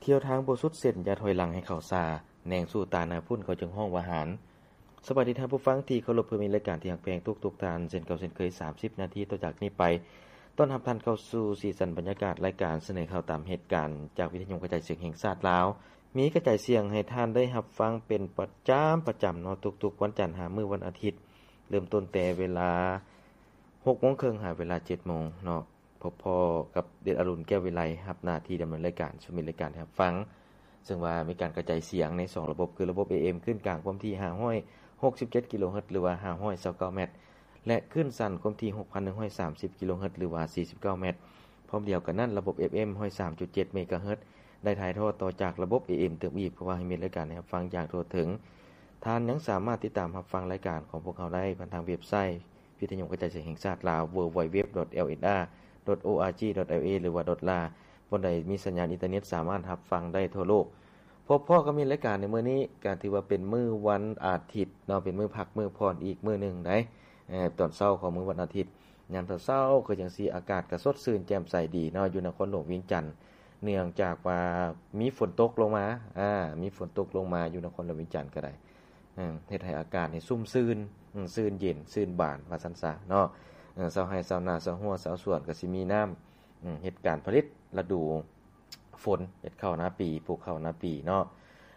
ທ່ຽວທາງບໍ່ສຸດເສັ້ນ ຢ່າຖອຍຫຼັງໃຫ້ເຂົ້າຊ້າ ແນງສູ້ຕາຍໜ້າພຸ້ນ ເຂົາຈຶ່ງຮ້ອງວ່າຫານ. ສະບາຍດີທ່ານຜູ້ຟັງທີ່ເຄົາລົບ ເພື່ອມິດລາຍການທີ່ຮັກແພງທຸກໆທ່ານ ເຊັ່ນເກົ່າເຊັ່ນເຄີຍ ສາມສິບນາທີຕໍ່ຈາກນີ້ໄປ ຕ້ອນຮັບທ່ານເຂົ້າສູ່ສີສັນບັນຍາກາດລາຍການສະເໜີຂ່າວຕາມເຫດການ ຈາກວິທະຍຸກະຈາຍສຽງແຫ່ງຊາດລາວ. ມີກະຈາຍສຽງໃຫ້ທ່ານໄດ້ຮັບຟັງເປັນປະຈຳ, ປະຈຳເນາະ ທຸກໆວັນຈັນຫາມື້ວັນອາທິດ ເລີ່ມຕົ້ນແຕ່ເວລາຫົກໂມງເຄິ່ງຫາເວລາເຈັດໂມງເນາະ. ພົບພໍ້ກັບເດດອາລຸນ ແກ້ວວິໄລ ຮັບໜ້າທີ່ດຳເນີນລາຍການສູ່ມິດລາຍການໄດ້ຮັບຟັງ, ເຊິ່ງວ່າມີການກະຈາຍສຽງໃນສອງລະບົບ ຄືລະບົບ ເອເອັມ ຄື້ນກາງຄວາມຖີ່ຫ້າຮ້ອຍຫົກສິບເຈັດກິໂລເຮີດ ຫຼືວ່າຫ້າຮ້ອຍຊາວເກົ້າແມັດ ແລະ ຄື້ນສັ້ນຄວາມຖີ່ຫົກພັນໜຶ່ງຮ້ອຍສາມສິບກິໂລເຮີດ ຫຼືວ່າສີ່ສິບເກົ້າແມັດ. ພ້ອມດຽວກັນນັ້ນ ລະບົບ ເອັຟເອັມ ຮ້ອຍສາມຈຸດເຈັດເມກາເຮີດ ໄດ້ຖ່າຍທອດຕໍ່ຈາກລະບົບ ເອເອັມ ຕື່ມອີກ ເພື່ອວ່າໃຫ້ມິດລາຍການໄດ້ຮັບຟັງຢ່າງທົ່ວເຖິງ. ທ່ານຍັງສາມາດຕິດຕາມຮັບຟັງລາຍການຂອງພວກເຮົາໄດ້ຜ່ານທາງເວັບໄຊ ວິທະຍຸກະຈາຍສຽງແຫ່ງຊາດລາວ ເວີລ໌ ວັນ ເວັບ ດອດ ແອລ ເອັນ ອາ ດອດ ໂອ ອາ ຈີ ດອດ ແອລ ເອ ຫຼືວ່າ ດອດ ລາ ບ່ອນໃດມີສັນຍານອິນເຕີເນັດ ສາມາດຮັບຟັງໄດ້ທົ່ວໂລກ. ພົບພໍ້ກັບມິດລາຍການໃນມື້ນີ້ ກໍຖືວ່າເປັນມື້ວັນອາທິດເນາະ, ເປັນມື້ພັກມື້ຜ່ອນອີກມື້ໜຶ່ງໃດ໋. ເອີ ຕອນເຊົ້າຂອງມື້ວັນອາທິດ ຍາມເຊົ້າໆຄືຈັ່ງຊີ້ ອາກາດກໍສົດຊື່ນແຈ່ມໃສດີເນາະ ຢູ່ນະຄອນຫຼວງວຽງຈັນ, ເນື່ອງຈາກວ່າມີຝົນຕົກລົງມາ, ອາ ມີຝົນຕົກລົງມາຢູ່ນະຄອນຫຼວງວຽງຈັນກໍໄດ້. ເອີ ເຮັດໃຫ້ອາກາດນີ້ຊຸ່ມຊື່ນ, ອືມ ຊື່ນເຢັນ, ຊື່ນບານ ວ່າຊັ້ນຊະເນາະ. ເອີ ຊາວໄຮ່ຊາວນາ, ຊາວຮົ້ວຊາວສວນກໍຊິມີນ້ຳ, ອືມ ເຮັດການຜະລິດລະດູຝົນ, ເຮັດເຂົ້ານາປີ, ປູກເຂົ້ານາປີເນາະ.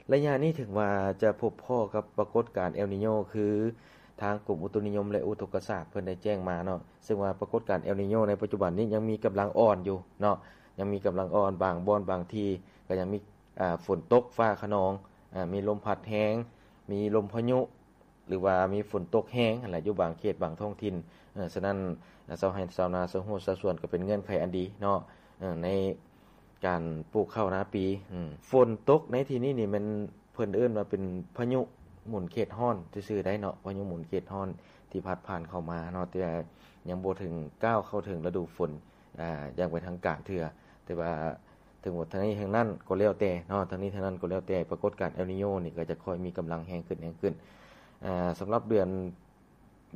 ໄລຍະນີ້ເຖິງວ່າຈະພົບພໍ້ກັບປາກົດການເອລນີໂຍ ຄືທາງກົມອຸຕຸນິຍົມ ແລະ ອຸທົກກະສາດເພິ່ນໄດ້ແຈ້ງມາເນາະ, ເຊິ່ງວ່າປາກົດການເອລນີໂຍໃນປັດຈຸບັນນີ້ຍັງມີກຳລັງອ່ອນຢູ່ເນາະ, ຍັງມີກຳລັງອ່ອນ, ບາງບ່ອນບາງທີ່ກໍຍັງມີ ອາ ຝົນຕົກຟ້າຂະນອງ, ອາ ມີລົມພັດແຮງ, ມີລົມພາຍຸ ຫຼືວ່າມີຝົນຕົກແຮງຫັ້ນແຫຼະ ຢູ່ບາງເຂດບາງທ້ອງຖິ່ນ. ເອີ ສະນັ້ນ ອາ ຊາວໄຮ່ຊາວນາ ຊາວຮົ້ວຊາວສວນ ກໍເປັນເງື່ອນໄຂອັນດີເນາະ ເອີ ໃນການປູກເຂົ້ານາປີ. ອືມ ຝົນຕົກໃນທີ່ນີ້ນີ້ແມ່ນເພິ່ນເອີ້ນວ່າເປັນພາຍຸໝູນເຂດຮ້ອນຊື່ໆໄດ໋ເນາະ, ພາຍຸໝູນເຂດຮ້ອນທີ່ພັດຜ່ານເຂົ້າມາເນາະ, ແຕ່ຍັງບໍ່ເຖິງກ້າວເຂົ້າເຖິງລະດູຝົນ ອາ ຢ່າງເປັນທາງການເທື່ອ. ແຕ່ວ່າ ເຖິງວ່າທັງນີ້ທັງນັ້ນກໍແລ້ວແຕ່ເນາະ, ທັງນີ້ທັງນັ້ນກໍແລ້ວແຕ່ ປາກົດການເອລນີໂຍນີ້ກໍຈະຄ່ອຍມີກຳລັງແຮງຂຶ້ນ, ແຮງຂຶ້ນ. ອາ ສຳລັບເດືອນ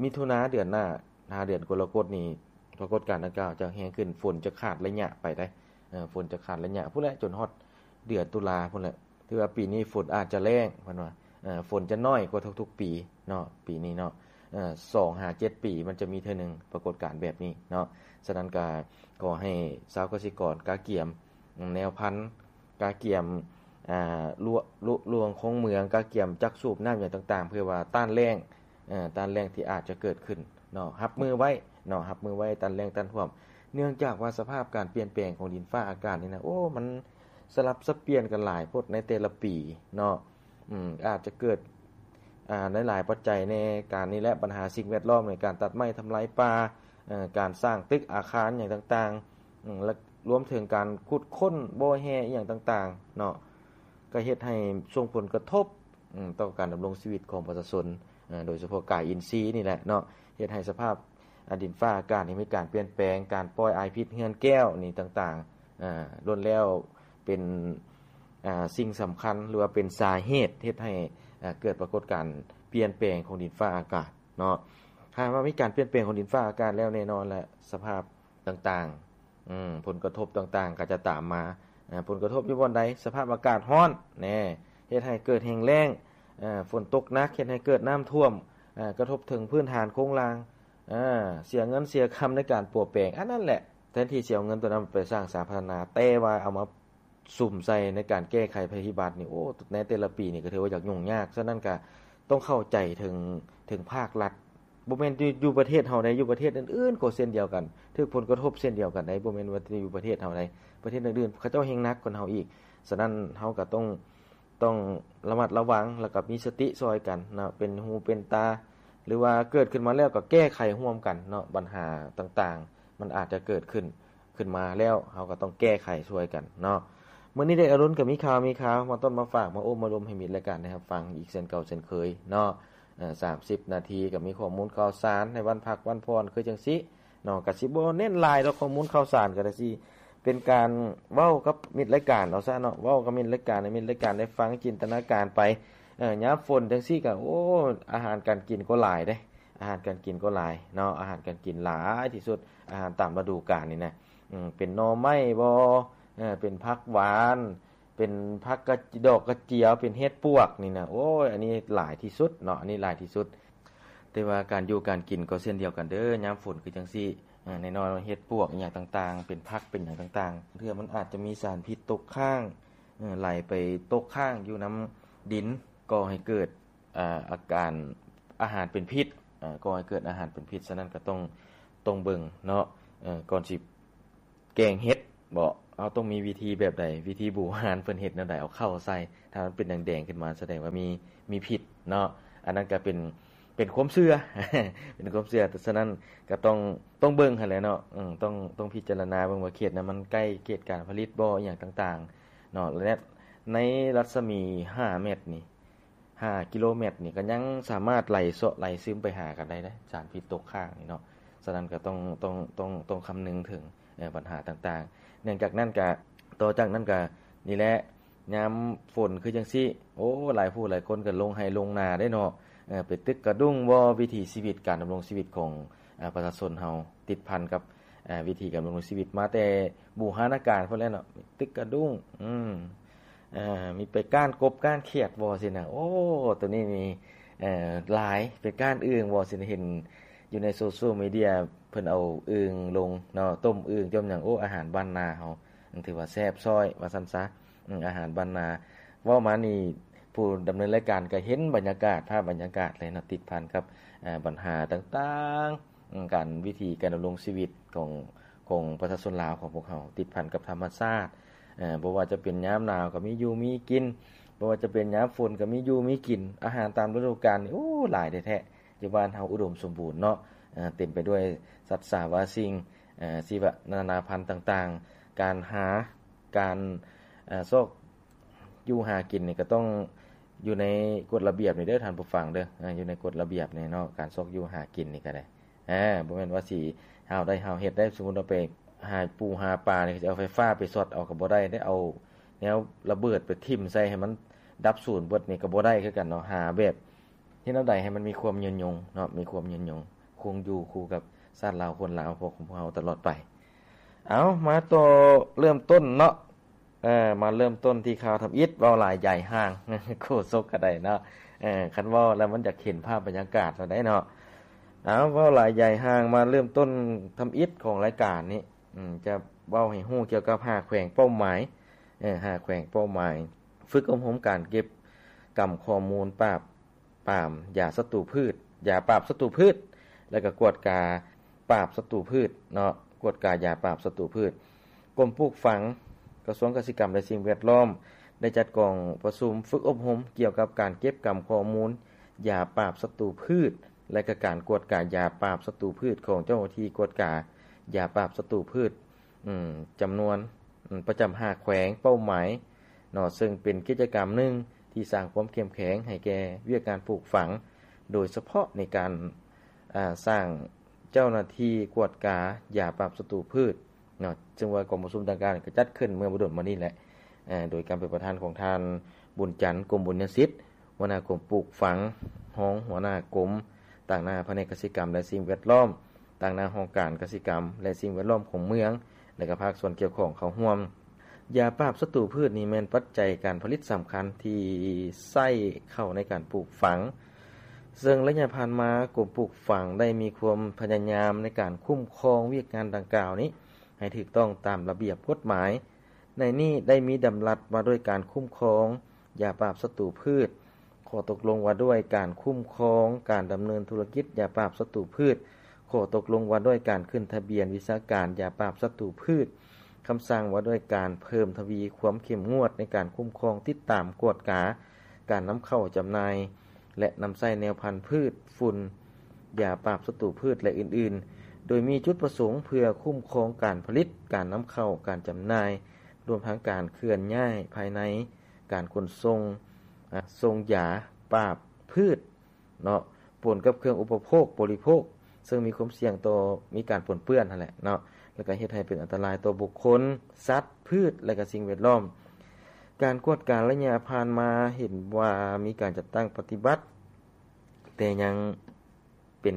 ມິຖຸນາ ເດືອນໜ້າ ຫາເດືອນກໍລະກົດນີ້ ປາກົດການດັ່ງກ່າວຈະແຮງຂຶ້ນ, ຝົນຈະຂາດໄລຍະໄປໄດ໋. ເອີ ຝົນຈະຂາດໄລຍະພຸ້ນແຫຼະ ຈົນຮອດເດືອນຕຸລາພຸ້ນແຫຼະ. ຖືວ່າປີນີ້ຝົນອາດຈະແລ້ງ ເພິ່ນວ່າ ເອີ ຝົນຈະໜ້ອຍກວ່າທຸກໆປີເນາະ ປີນີ້ເນາະ. ເອີ ສອງຫາເຈັດປີມັນຈະມີເທື່ອໜຶ່ງປາກົດການແບບນີ້ເນາະ. ສະນັ້ນກະຂໍໃຫ້ຊາວກະສິກອນກະກຽມ ແນວພັນ ກະກຽມ ອາ ລວ ລວ ລວງຄົງເມືອງ, ກະກຽມຈັກສູບນ້ຳຫຍັງຕ່າງໆ ເພື່ອວ່າຕ້ານແລ້ງ ເອີ ຕ້ານແລ້ງທີ່ອາດຈະເກີດຂຶ້ນເນາະ, ຮັບມືໄວ້ເນາະ, ຮັບມືໄວ້ຕ້ານແລ້ງຕ້ານຖ້ວມ. ເນື່ອງຈາກວ່າສະພາບການປ່ຽນແປງຂອງດິນຟ້າອາກາດນີ້ນະ ໂອ້ ມັນສະຫຼັບສັບປ່ຽນກັນຫຼາຍໂພດໃນແຕ່ລະປີເນາະ. ອືມ ອາດຈະເກີດ ອາ ໃນຫຼາຍປັດໄຈແດ່, ການນີ້ແຫຼະ ບັນຫາສິ່ງແວດລ້ອມ ໃນການຕັດໄມ້ທຳລາຍປ່າ, ເອີ ການສ້າງຕຶກອາຄານຫຍັງຕ່າງໆ ອືມ ແລະ ລວມເຖິງການຂຸດຄົ້ນບໍ່ແຮ່ອີ່ຫຍັງຕ່າງໆເນາະ, ກໍເຮັດໃຫ້ສົ່ງຜົນກະທົບ ອືມ ຕໍ່ການດຳລົງຊີວິດຂອງປະຊາຊົນ, ເອີ ໂດຍສະເພາະກາຍອິນຊີນີ້ແຫຼະເນາະ, ເຮັດໃຫ້ສະພາບ ອາ ດິນຟ້າອາກາດນີ້ມີການປ່ຽນແປງ, ການປ່ອຍອາຍພິດເຮືອນແກ້ວນີ້ຕ່າງໆ ອາ ລ້ວນແລ້ວເປັນ ອາ ສິ່ງສຳຄັນ ຫຼືວ່າເປັນສາເຫດເຮັດໃຫ້ ອາ ເກີດປາກົດການປ່ຽນແປງຂອງດິນຟ້າອາກາດເນາະ. ຖ້າວ່າມີການປ່ຽນແປງຂອງດິນຟ້າອາກາດແລ້ວ ແນ່ນອນແຫຼະ ສະພາບຕ່າງໆ ອືມ ຜົນກະທົບຕ່າງໆກໍຈະຕາມມາ. ອາ ຜົນກະທົບຢູ່ບ່ອນໃດ? ສະພາບອາກາດຮ້ອນແນ່ ເຮັດໃຫ້ເກີດແຫ້ງແລ້ງ, ອາ ຝົນຕົກໜັກ ເຮັດໃຫ້ເກີດນ້ຳຖ້ວມ, ອາ ກະທົບເຖິງພື້ນຖານໂຄງລ່າງ, ອາ ເສຍເງິນເສຍຄຳໃນການປົວແປງ. ອັນນັ້ນແຫຼະ ແທນທີ່ຊິເອົາເງິນຕົວນັ້ນໄປສ້າງສາພັດທະນາ ແຕ່ວ່າເອົາມາສຸມໃສ່ໃນການແກ້ໄຂໄພພິບັດນີ້ ໂອ້ ໃນແຕ່ລະປີນີ້ກໍຖືວ່າຢາກຫຍຸ້ງຍາກ. ສະນັ້ນກໍຕ້ອງເຂົ້າໃຈເຖິງ ເຖິງພາກລັດ, ບໍ່ແມ່ນຢູ່ ຢູ່ປະເທດເຮົາໃດ, ຢູ່ປະເທດອື່ນໆກໍເຊັ່ນດຽວກັນ ຖືກຜົນກະທົບເຊັ່ນດຽວກັນໃດ, ບໍ່ແມ່ນວ່າແຕ່ຢູ່ປະເທດເຮົາໃດ, ປະເທດອື່ນໆເຂົາເຈົ້າແຮ່ງໜັກກວ່າເຮົາອີກ. ສະນັ້ນເຮົາກໍຕ້ອງ ຕ້ອງລະມັດລະວັງ ແລ້ວກໍມີສະຕິຊ່ອຍກັນເນາະ, ເປັນຫູເປັນຕາ ຫຼືວ່າເກີດຂຶ້ນມາແລ້ວກໍແກ້ໄຂຮ່ວມກັນເນາະ. ບັນຫາຕ່າງໆມັນອາດຈະເກີດຂຶ້ນ ຂຶ້ນມາແລ້ວ ເຮົາກໍຕ້ອງແກ້ໄຂຊ່ວຍກັນເນາະ. ມື້ນີ້ໄດ້ອາລຸນກໍມີຂ່າວ ມີຂ່າວມາຕົ້ນມາຝາກ ມາໂອ້ມາລົມໃຫ້ມິດລາຍການໄດ້ຮັບຟັງອີກເຊັ່ນເກົ່າເຊັ່ນເຄີຍເນາະ. ເອີ ສາມສິບນາທີກໍມີຂໍ້ມູນຂ່າວສານໃນວັນພັກວັນຜ່ອນຄືຈັ່ງຊີ້ເນາະ, ກໍຊິບໍ່ເນັ້ນຫຼາຍດອກ ຂໍ້ມູນຂ່າວສານກໍໄດ້ ຊິເປັນການເວົ້າກັບມິດລາຍການເອົາຊະເນາະ, ເວົ້າກັບມິດລາຍການ ໃຫ້ມິດລາຍການໄດ້ຟັງຈິນຕະນາການໄປ. ເອີ ຍາມຝົນຈັ່ງຊີ້ກໍ ໂອ້ ອາຫານການກິນກໍຫຼາຍເດ້, ອາຫານການກິນກໍຫຼາຍເນາະ, ອາຫານການກິນຫຼາຍທີ່ສຸດ ອາຫານຕາມລະດູການນີ້ນະ. ອືມ ເປັນໜໍ່ໄມ້ບໍ ເອີ ເປັນຜັກຫວານ ເປັນຜັກກະ ດອກກະຈຽວ ເປັນເຫັດປວກນີ້ນະ ໂອ້ຍ ອັນນີ້ຫຼາຍທີ່ສຸດເນາະ ອັນນີ້ຫຼາຍທີ່ສຸດ. ແຕ່ວ່າການຢູ່ການກິນກໍເຊັ່ນດຽວກັນເດີ້ ຍາມຝົນຄືຈັ່ງຊີ້ ອາ ແນ່ນອນວ່າເຫັດປວກອີ່ຫຍັງຕ່າງໆ ເປັນຜັກເປັນຫຍັງຕ່າງໆ ເທື່ອມັນອາດຈະມີສານພິດຕົກຄ້າງ ເອີ ໄຫຼໄປຕົກຄ້າງຢູ່ນຳດິນ ກໍ່ໃຫ້ເກີດ ອາ ອາການອາຫານເປັນພິດ ອາ ກໍ່ໃຫ້ເກີດອາຫານເປັນພິດ. ສະນັ້ນກໍຕ້ອງ ຕ້ອງເບິ່ງເນາະ ເອີ ກ່ອນຊິແກງເຫັດບໍ ເຮົາຕ້ອງມີວິທີແບບໃດ? ວິທີບູຮານເພິ່ນເຮັດແນວໃດ? ເອົາເຂົ້າໃສ່ ຖ້າມັນເປັນແດງໆຂຶ້ນມາ ສະແດງວ່າມີ ມີພິດເນາະ. ອັນນັ້ນກໍເປັນ ເປັນຄວາມເຊື່ອ ເປັນຄວາມເຊື່ອ. ສະນັ້ນກໍຕ້ອງ ຕ້ອງເບິ່ງຫັ້ນແຫຼະເນາະ ເອີ ຕ້ອງ ຕ້ອງພິຈາລະນາເບິ່ງວ່າເຂດນັ້ນມັນໃກ້ເຂດການຜະລິດບໍ ອີ່ຫຍັງຕ່າງໆເນາະ ແລະ ໃນລັດສະໝີຫ້າແມັດນີ້ ຫ້າກິໂລແມັດນີ້ ກໍຍັງສາມາດໄຫຼເຊາະໄຫຼຊຶມໄປຫາກັນໄດ້ເດ້ ສານພິດຕົກຄ້າງນີ້ເນາະ. ສະນັ້ນກໍຕ້ອງ ຕ້ອງ ຕ້ອງ ຕ້ອງຄຳນຶງເຖິງ ເອີ ບັນຫາຕ່າງໆ. ເນື່ອງຈາກນັ້ນກໍ ຕໍ່ຈາກນັ້ນກໍນີ້ແຫຼະ ຍາມຝົນຄືຈັ່ງຊີ້ ໂອ້ ຫຼາຍຜູ້ຫຼາຍຄົນກໍລົງໄຮ່ລົງນາເດ້ເນາະ ເອີ ໄປຕຶກກະດຸ້ງບໍ ວິຖີຊີວິດ ການດຳລົງຊີວິດຂອງ ອາ ປະຊາຊົນເຮົາ ຕິດພັນກັບ ອາ ວິຖີການດຳລົງຊີວິດມາແຕ່ບູຮານະການພຸ້ນແຫຼະເນາະ ຕຶກກະດຸ້ງ ອືມ ເອີ ມີໄປກ້ານກົບກ້ານຂຽດບໍ ຊີ້ນະ. ໂອ້ ໂຕນີ້ນີ້ ເອີ ຫຼາຍ ໄປກ້ານອຶ່ງບໍ ຊີ້ນະ ເຫັນຢູ່ໃນໂຊຊຽວມີເດຍ ເພິ່ນເອົາອຶ່ງລົງເນາະ ຕົ້ມອຶ່ງ ຕົ້ມຫຍັງ ໂອ້ ອາຫານບ້ານນາເຮົາ ຖືວ່າແຊບຊ້ອຍວ່າຊັ້ນຊະ ອາຫານບ້ານນາ. ເວົ້າມານີ້ ຜູ້ດຳເນີນລາຍການກໍເຫັນບັນຍາກາດ ພາບບັນຍາກາດເລີຍເນາະ ຕິດພັນກັບ ອາ ບັນຫາຕ່າງໆ ການ ວິຖີການດຳລົງຊີວິດຂອງ ຂອງປະຊາຊົນລາວຂອງພວກເຮົາ ຕິດພັນກັບທຳມະຊາດ ເອີ ບໍ່ວ່າຈະເປັນຍາມໜາວກໍມີຢູ່ມີກິນ ບໍ່ວ່າຈະເປັນຍາມຝົນກໍມີຢູ່ມີກິນ ອາຫານຕາມລະດູການນີ້ ໂອ້ ຫຼາຍແທ້ໆ. ຢູ່ບ້ານເຮົາອຸດົມສົມບູນເນາະ ເຕັມໄປດ້ວຍສັດສາວາສິ່ງ ຊີວະນານາພັນຕ່າງໆ. ການຫາ ການ ເອີ ຊອກຢູ່ຫາກິນນີ້ກໍຕ້ອງຢູ່ໃນກົດລະບຽບນີ້ເດີ້ທ່ານຜູ້ຟັງເດີ້ ເອີ ຢູ່ໃນກົດລະບຽບນີ້ເນາະ ການຊອກຢູ່ຫາກິນນີ້ກໍໄດ້ ເອີ ບໍ່ແມ່ນວ່າຊິຫາວໄດ້ຫາວເຮັດໄດ້. ສົມມຸດວ່າໄປຫາປູຫາປານີ້ ຊິເອົາໄຟຟ້າໄປຊັອດເອົາກໍບໍ່ໄດ້ເດ້ ເອົາແນວລະເບີດໄປຖິ້ມໃສ່ໃຫ້ມັນດັບສູນເບິດນີ້ກໍບໍ່ໄດ້ຄືກັນເນາະ. ຫາແບບ ເຮັດແນວໃດໃຫ້ມັນມີຄວາມຍືນຍົງເນາະ ມີຄວາມຍືນຍົງ ຄົງຢູ່ຄູ່ກັບຊາດລາວຄົນລາວຂອງພວກເຮົາຕະຫຼອດໄປ. ເອົາ ມາຕໍ່ເລີ່ມຕົ້ນເນາະ ເອີ ມາເລີ່ມຕົ້ນທີ່ຂ່າວທຳອິດ ເວົ້າຫຼາຍໃຫຍ່ຫ່າງ ໂຄສົກກໍໄດ້ເນາະ ເອີ ຄັນເວົ້າແລ້ວມັນຢາກເຫັນພາບບັນຍາກາດແລ້ວໄດ໋ເນາະ. ເອົາ ເວົ້າຫຼາຍໃຫຍ່ຫ່າງ ມາເລີ່ມຕົ້ນທຳອິດຂອງລາຍການນີ້ ອືມ ຈະເວົ້າໃຫ້ຮູ້ກ່ຽວກັບຫ້າແຂວງເປົ້າໝາຍ ເອີ ຫ້າແຂວງເປົ້າໝາຍ ຝຶກອົບຮົມການເກັບກຳຂໍ້ມູນປາບ ປາມຢາສັດຕູພືດ ຢາປາບສັດຕູພືດ ແລະ ກໍກວດກາປາບສັດຕູພືດເນາະ ກວດກາຢາປາບສັດຕູພືດ. ກົມປູກຝັງ ກະຊວງກະສິກຳ ແລະ ສິ່ງແວດລ້ອມ ໄດ້ຈັດກອງປະຊຸມຝຶກອົບຮົມກ່ຽວກັບການເກັບກຳຂໍ້ມູນຢາປາບສັດຕູພືດ ແລະ ກະການກວດກາຢາປາບສັດຕູພືດຂອງເຈົ້າໜ້າທີ່ກວດກາຢາປາບສັດຕູພືດ ອືມ ຈຳນວນ ອືມ ປະຈຳຫ້າແຂວງເປົ້າໝາຍເນາະ ເຊິ່ງເປັນກິດຈະກຳໜຶ່ງທີ່ສ້າງຄວາມເຂັ້ມແຂງໃຫ້ແກ່ວຽກງານປູກຝັງ ໂດຍສະເພາະໃນການ ອາ ສ້າງເຈົ້າໜ້າທີ່ກວດກາຢາປາບສັດຕູພືດເນາະ ເຊິ່ງວ່າກອງປະຊຸມດັ່ງກ່າວນີ້ກໍຈັດຂຶ້ນເມື່ອບໍ່ດົນມານີ້ແຫຼະ ອາ ໂດຍການເປັນປະທານຂອງທ່ານ ບຸນຈັນ ກົມບຸນຍະສິດ ຫົວໜ້າກົມປູກຝັງ, ຮອງຫົວໜ້າກົມ, ຕາງໜ້າພະແນກກະສິກຳ ແລະ ສິ່ງແວດລ້ອມ, ຕາງໜ້າຫ້ອງການກະສິກຳ ແລະ ສິ່ງແວດລ້ອມຂອງເມືອງ ແລະ ກະພາກສ່ວນກ່ຽວຂ້ອງເຂົ້າຮ່ວມ. ຢາປາບສັດຕູພືດນີ້ແມ່ນປັດໄຈການຜະລິດສຳຄັນທີ່ໃຊ້ເຂົ້າໃນການປູກຝັງ, ເຊິ່ງໄລຍະຜ່ານມາ ກົມປູກຝັງໄດ້ມີຄວາມພະຍາຍາມໃນການຄຸ້ມຄອງວຽກງານດັ່ງກ່າວນີ້ໃຫ້ຖືກຕ້ອງຕາມລະບຽບກົດໝາຍ. ໃນນີ້ໄດ້ມີດຳລັດວ່າດ້ວຍການຄຸ້ມຄອງຢາປາບສັດຕູພືດ, ຂໍ້ຕົກລົງວ່າດ້ວຍການຄຸ້ມຄອງການດຳເນີນທຸລະກິດຢາປາບສັດຕູພືດ, ຂໍ້ຕົກລົງວ່າດ້ວຍການຂຶ້ນທະບຽນວິຊາການຢາປາບສັດຕູພືດ, ຄຳສັ່ງວ່າດ້ວຍການເພີ່ມທະວີຄວາມເຂັ້ມງວດໃນການຄຸ້ມຄອງ, ຕິດຕາມ, ກວດກາການນຳເຂົ້າ, ຈຳໜ່າຍ ແລະ ນຳໃຊ້ແນວພັນພືດ, ຝຸ່ນ, ຢາປາບສັດຕູພືດ ແລະ ອື່ນໆ, ໂດຍມີຈຸດປະສົງເພື່ອຄຸ້ມຄອງການຜະລິດ, ການນຳເຂົ້າ, ການຈຳໜ່າຍ, ລວມທັງການເຄື່ອນຍ້າຍພາຍໃນ, ການຂົນສົ່ງ, ອາ, ສົ່ງຢາປາບພືດເນາະ, ປົນກັບເຄື່ອງອຸປະໂພກ, ບໍລິໂພກ, ເຊິ່ງມີຄວາມສ່ຽງຕໍ່ມີການປົນເປື້ອນຫັ້ນແຫຼະເນາະ, ແລ້ວກໍເຮັດໃຫ້ເປັນອັນຕະລາຍຕໍ່ບຸກຄົນ, ສັດ, ພືດ ແລະ ກໍສິ່ງແວດລ້ອມ. ການກວດກາໄລຍະຜ່ານມາເຫັນວ່າມີການຈັດຕັ້ງປະຕິບັດ, ແຕ່ຍັງເປັນ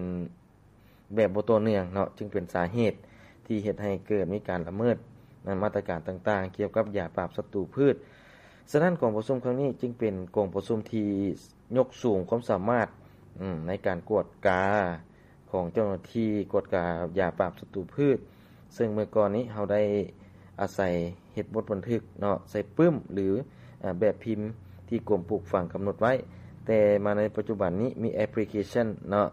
ແບບບໍ່ຕໍ່ເນື່ອງເນາະ, ຈຶ່ງເປັນສາເຫດທີ່ເຮັດໃຫ້ເກີດມີການລະເມີດມາດຕະການຕ່າງໆ ກ່ຽວກັບຢາປາບສັດຕູພືດ. ສະນັ້ນ ກອງປະຊຸມຄັ້ງນີ້ຈຶ່ງເປັນກອງປະຊຸມທີ່ຍົກສູງຄວາມສາມາດ ອືມ ໃນການກວດກາຂອງເຈົ້າໜ້າທີ່ກວດກາຢາປາບສັດຕູພືດ, ເຊິ່ງເມື່ອກ່ອນນີ້ເຮົາໄດ້ອາໄສເຮັດບົດບັນທຶກເນາະ ໃສ່ປຶ້ມ ຫຼື ອາ ແບບພິມທີ່ກົມປູກຝັງກຳນົດໄວ້, ແຕ່ມາໃນປັດຈຸບັນນີ້ມີແອັບພລິເຄຊັນເນາະ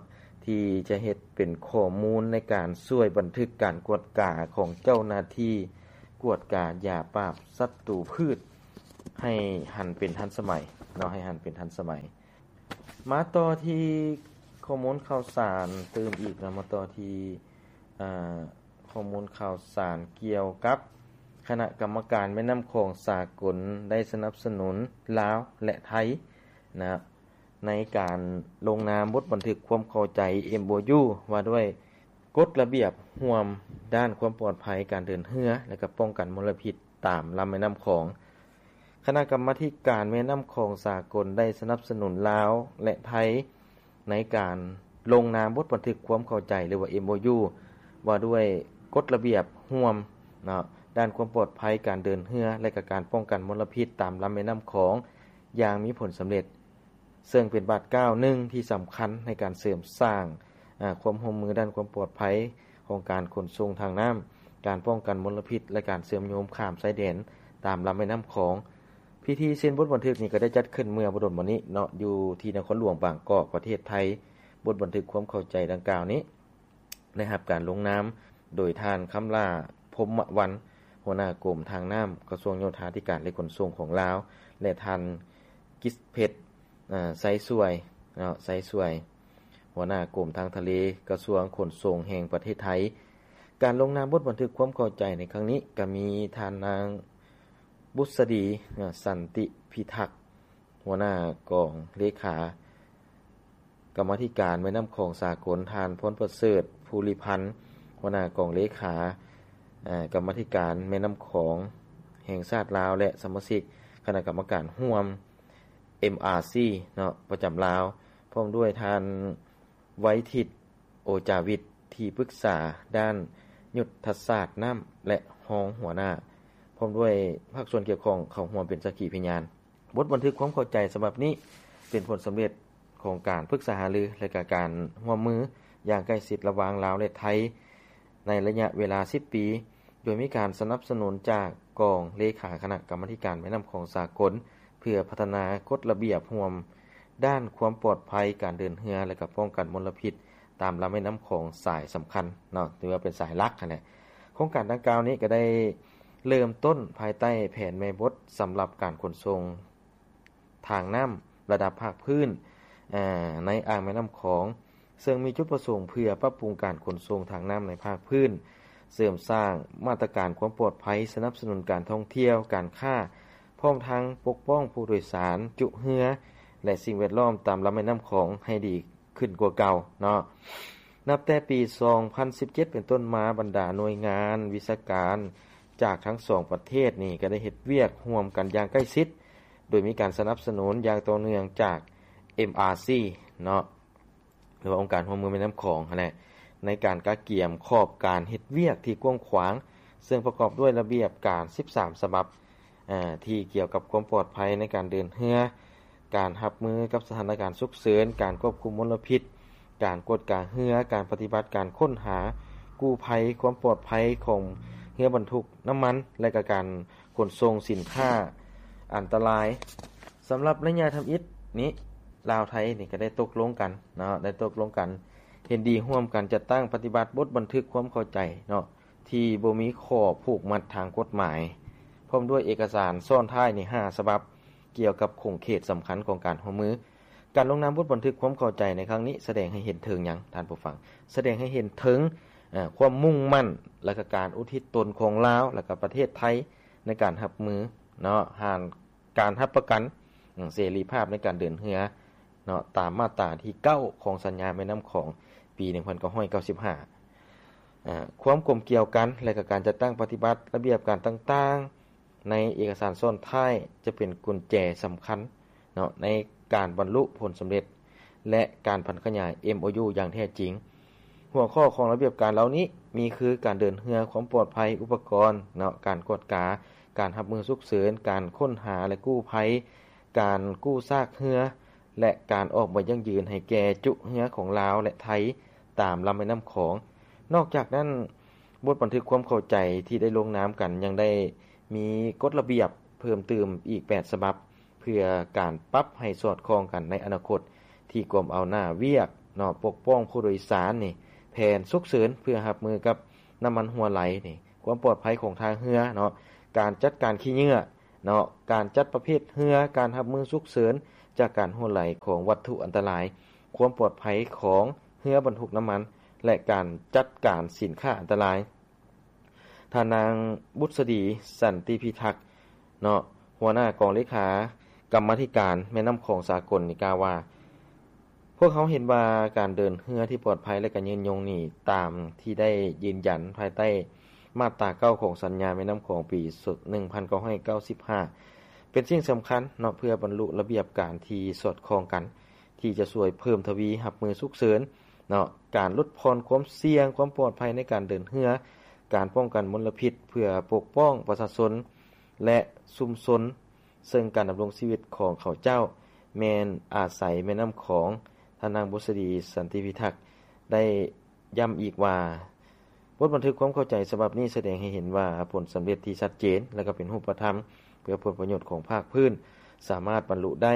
ທີ່ຈະເຮັດເປັນຂໍ້ມູນໃນການຊ່ວຍບັນທຶກການກວດກາຂອງເຈົ້າໜ້າທີ່ກວດກາຢາປາບສັດຕູພືດ ໃຫ້ຫັນເປັນທັນສະໄໝເນາະ ໃຫ້ຫັນເປັນທັນສະໄໝ. ມາຕໍ່ທີ່ຂໍ້ມູນຂ່າວສານຕື່ມອີກເນາະ ມາຕໍ່ທີ່ ອາ ຂໍ້ມູນຂ່າວສານກ່ຽວກັບຄະນະກຳມະການແມ່ນ້ຳຂອງສາກົນໄດ້ສະໜັບສະໜູນລາວ ແລະ ໄທນະ ໃນການລົງນາມບົດບັນທຶກຄວາມເຂົ້າໃຈ ເອັມໂອຢູ ວ່າດ້ວຍກົດລະບຽບຮ່ວມດ້ານຄວາມປອດໄພການເດີນເຮືອ ແລະ ກໍປ້ອງກັນມົນລະພິດຕາມລຳແມ່ນ້ຳຂອງ. ຄະນະກຳມາທິການແມ່ນ້ຳຂອງສາກົນໄດ້ສະໜັບສະໜູນລາວ ແລະ ໄທ ໃນການລົງນາມບົດບັນທຶກຄວາມເຂົ້າໃຈ ຫຼືວ່າ ເອັມໂອຢູ ວ່າດ້ວຍກົດລະບຽບຮ່ວມເນາະ ດ້ານຄວາມປອດໄພການເດີນເຮືອ ແລະ ກະການປ້ອງກັນມົນລະພິດຕາມລຳແມ່ນ້ຳຂອງຢ່າງມີຜົນສຳເລັດ, ເຊິ່ງເປັນບາດກ້າວໜຶ່ງທີ່ສຳຄັນໃນການເສີມສ້າງ ອາ ຄວາມຮ່ວມມືດ້ານຄວາມປອດໄພຂອງການຂົນສົ່ງທາງນ້ຳ, ການປ້ອງກັນມົນລະພິດ ແລະ ການເຊື່ອມໂຍງຂ້າມຊາຍແດນຕາມລຳແມ່ນ້ຳຂອງ. ພິທີເຊັນບົດບັນທຶກນີ້ກໍໄດ້ຈັດຂຶ້ນເມື່ອບໍ່ດົນມານີ້ເນາະ ຢູ່ທີ່ນະຄອນຫຼວງບາງກອກ ປະເທດໄທ. ບົດບັນທຶກຄວາມເຂົ້າໃຈດັ່ງກ່າວນີ້ ໄດ້ຮັບການລົງນາມໂດຍທ່ານ ຄຳຫຼ້າ ພົມມະວັນ ຫົວໜ້າກົມທາງນ້ຳ ກະຊວງໂຍທາທິການ ແລະ ຂົນສົ່ງຂອງລາວ ແລະ ທ່ານ ກິດເພັດ ອາ ໄຊສວຍເນາະ ໄຊສວຍ ຫົວໜ້າກົມທາງທະເລ ກະຊວງຂົນສົ່ງແຫ່ງປະເທດໄທ. ການລົງນາມບົດບັນທຶກຄວາມເຂົ້າໃຈໃນຄັ້ງນີ້ ກະມີທ່ານນາງ ບຸດສະດີ ສັນຕິພິທັກ ຫົວໜ້າກອງເລຂາກຳມາທິການແມ່ນ້ຳຂອງສາກົນ, ທ່ານ ພອນປະເສີດ ພູລິພັນ ຫົວໜ້າກອງເລຂາ ເອີ ກຳມາທິການແມ່ນ້ຳຂອງແຫ່ງຊາດລາວ ແລະ ສະມາຊິກຄະນະກຳມະການຮ່ວມ ເອັມອາຊີ ເນາະ ປະຈຳລາວ, ພ້ອມດ້ວຍທ່ານ ໄວທິດ ໂອຈາວິດ ທີ່ປຶກສາດ້ານຍຸດທະສາດນ້ຳ ແລະ ຮອງຫົວໜ້າ ພ້ອມດ້ວຍພາກສ່ວນກ່ຽວຂ້ອງເຂົ້າຮ່ວມເປັນສັກຂີພະຍານ. ບົດບັນທຶກຄວາມເຂົ້າໃຈສະບັບນີ້ ເປັນຜົນສຳເລັດຂອງການປຶກສາຫາລື ແລະ ກະການຮ່ວມມືຢ່າງໃກ້ຊິດລະຫວ່າງລາວ ແລະ ໄທ ໃນໄລຍະເວລາສິບປີ, ໂດຍມີການສະໜັບສະໜູນຈາກກອງເລຂາຄະນະກຳມາທິການແມ່ນ້ຳຂອງສາກົນ ເພື່ອພັດທະນາກົດລະບຽບຮ່ວມດ້ານຄວາມປອດໄພການເດີນເຮືອ ແລະ ກະປ້ອງກັນມົນລະພິດຕາມລຳແມ່ນ້ຳຂອງສາຍສຳຄັນເນາະ ຖືວ່າເປັນສາຍຫຼັກຫັ້ນແຫຼະ. ໂຄງການດັ່ງກ່າວນີ້ກະໄດ້ເລີ່ມຕົ້ນພາຍໃຕ້ແຜນແມ່ບົດສຳລັບການຂົນສົ່ງ ທາງນ້ຳລະດັບພາກພື້ນ ເອີ ໃນອ່າງແມ່ນ້ຳຂອງ, ເຊິ່ງມີຈຸດປະສົງເພື່ອປັບປຸງການຂົນສົ່ງທາງນ້ຳໃນພາກພື້ນ, ເສີມສ້າງມາດຕະການຄວາມປອດໄພ, ສະໜັບສະໜູນການທ່ອງທ່ຽວ, ການຄ້າ, ພ້ອມທັງປົກປ້ອງຜູ້ໂດຍສານ, ຈຸເຮືອ ແລະ ສິ່ງແວດລ້ອມຕາມລຳແມ່ນ້ຳຂອງໃຫ້ດີຂຶ້ນກວ່າເກົ່າເນາະ. ນັບແຕ່ປີສອງພັນສິບເຈັດເປັນຕົ້ນມາ, ບັນດາໜ່ວຍງານວິຊາການຈາກທັງສອງປະເທດນີ້ ກະໄດ້ເຮັດວຽກຮ່ວມກັນຢ່າງໃກ້ຊິດ, ໂດຍມີການສະໜັບສະໜູນຢ່າງຕໍ່ເນື່ອງຈາກ ເອັມອາຊີ ເນາະ ຫຼືວ່າອົງການຮ່ວມມືແມ່ນ້ຳຂອງຫັ້ນແຫຼະ ໃນການກະກຽມຂອບການເຮັດວຽກທີ່ກວ້າງຂວາງ, ເຊິ່ງປະກອບດ້ວຍລະບຽບການສິບສາມສະບັບ ເອີ ທີ່ກ່ຽວກັບຄວາມປອດໄພໃນການເດີນເຮືອ, ການຮັບມືກັບສະຖານະການສຸກເສີນ, ການຄວບຄຸມມົນລະພິດ, ການກວດກາເຮືອ, ການປະຕິບັດການຄົ້ນຫາກູ້ໄພ, ຄວາມປອດໄພຂອງເຮືອບັນທຸກນ້ຳມັນ ແລະ ກະການຂົນສົ່ງສິນຄ້າອັນຕະລາຍ. ສຳລັບໄລຍະທຳອິດນີ້ ລາວໄທນີ້ກະໄດ້ຕົກລົງກັນເນາະ ໄດ້ຕົກລົງກັນເຫັນດີຮ່ວມກັນຈັດຕັ້ງປະຕິບັດບົດບັນທຶກຄວາມເຂົ້າໃຈເນາະ ທີ່ບໍ່ມີຂໍ້ຜູກມັດທາງກົດໝາຍ, ພ້ອມດ້ວຍເອກະສານຊ້ອນທ້າຍນີ້ຫ້າສະບັບ ກ່ຽວກັບຂົງເຂດສຳຄັນຂອງການຮ່ວມມື. ການລົງນາມບົດບັນທຶກຄວາມເຂົ້າໃຈໃນຄັ້ງນີ້ ສະແດງໃຫ້ເຫັນເຖິງຫຍັງທ່ານຜູ້ຟັງ? ສະແດງໃຫ້ເຫັນເຖິງ ເອີ ຄວາມມຸ່ງໝັ້ນ ແລະ ກະການອຸທິດຕົນຂອງລາວ ແລະ ກະປະເທດໄທໃນການຮັບມືເນາະ ຫານ ການຮັບປະກັນ ເສລີພາບໃນການເດີນເຮືອເນາະ ຕາມມາດຕາທີເກົ້າຂອງສັນຍາແມ່ນ້ຳຂອງປີໜຶ່ງພັນເກົ້າຮ້ອຍເກົ້າສິບຫ້າ. ຄວາມກົມກຽວກັນ ແລະ ກະການຈັດຕັ້ງປະຕິບັດລະບຽບການຕ່າງໆ ໃນເອກະສານຊ້ອນທ້າຍ ຈະເປັນກຸນແຈສຳຄັນເນາະ ໃນການບັນລຸຜົນສຳເລັດ ແລະ ການຜັນຂະຫຍາຍ ເອັມໂອຢູ ຢ່າງແທ້ຈິງ. ຫົວຂໍ້ຂອງລະບຽບການເຫຼົ່ານີ້ມີຄື ການເດີນເຮືອ, ຄວາມປອດໄພ, ອຸປະກອນເນາະ, ການກວດກາ, ການຮັບມືສຸກເສີນ, ການຄົ້ນຫາ ແລະ ກູ້ໄພ, ການກູ້ຊາກເຮືອ ແລະ ການອອກໃບຢັ້ງຢືນໃຫ້ແກ່ຈຸເຮືອຂອງລາວ ແລະ ໄທ ຕາມລຳແມ່ນ້ຳຂອງ. ນອກຈາກນັ້ນ, ບົດບັນທຶກຄວາມເຂົ້າໃຈທີ່ໄດ້ລົງນາມກັນ ຍັງໄດ້ມີກົດລະບຽບເພີ່ມຕື່ມອີກແປດສະບັບ ເພື່ອການປັບໃຫ້ສອດຄ່ອງກັນໃນອະນາຄົດ ທີ່ກວມເອົາໜ້າວຽກເນາະ ປົກປ້ອງຜູ້ໂດຍສານນີ້, ແຜນສຸກເສີນເພື່ອຮັບມືກັບນ້ຳມັນຮົ່ວໄຫຼນີ້, ຄວາມປອດໄພຂອງທ່າເຮືອເນາະ, ການຈັດການຂີ້ເຫຍື້ອເນາະ, ການຈັດປະເພດເຮືອ, ການຮັບມືສຸກເສີນຈາກການຮົ່ວໄຫຼຂອງວັດຖຸອັນຕະລາຍ, ຄວາມປອດໄພຂອງເຮືອບັນທຸກນ້ຳມັນ ແລະ ການຈັດການສິນຄ້າອັນຕະລາຍ. ທ່ານນາງ ບຸດສະດີ ສັນຕິພິທັກ ເນາະ ຫົວໜ້າກອງເລຂາກຳມາທິການແມ່ນ້ຳຂອງສາກົນນີ້ກ່າວວ່າ, ພວກເຮົາເຫັນວ່າການເດີນເຮືອທີ່ປອດໄພ ແລະ ກະຍືນຍົງນີ້ ຕາມທີ່ໄດ້ຢືນຢັນພາຍໃຕ້ມາດຕາເກົ້າຂອງສັນຍາແມ່ນ້ຳຂອງປີໜຶ່ງພັນເກົ້າຮ້ອຍເກົ້າສິບຫ້າ ເປັນສິ່ງສຳຄັນເນາະ ເພື່ອບັນລຸລະບຽບການທີ່ສອດຄ່ອງກັນ ທີ່ຈະຊ່ວຍເພີ່ມທະວີຮັບມືສຸກເສີນເນາະ, ການຫຼຸດຜ່ອນຄວາມສ່ຽງ, ຄວາມປອດໄພໃນການເດີນເຮືອ, ການປ້ອງກັນມົນລະພິດເພື່ອປົກປ້ອງປະຊາຊົນ ແລະ ຊຸມຊົນ, ເຊິ່ງການດຳລົງຊີວິດຂອງເຂົາເຈົ້າແມ່ນອາໄສແມ່ນ້ຳຂອງ. ທ່ານນາງ ບຸດສະດີ ສັນຕິພິທັກ ໄດ້ ຢ້ຳອີກວ່າ ບົດບັນທຶກຄວາມເຂົ້າໃຈສະບັບນີ້ສະແດງໃຫ້ເຫັນວ່າ ຜົນສຳເລັດທີ່ຊັດເຈນ ແລະ ກໍເປັນຮູບປະທຳ ເພື່ອຜົນປະໂຫຍດຂອງພາກພື້ນ ສາມາດບັນລຸໄດ້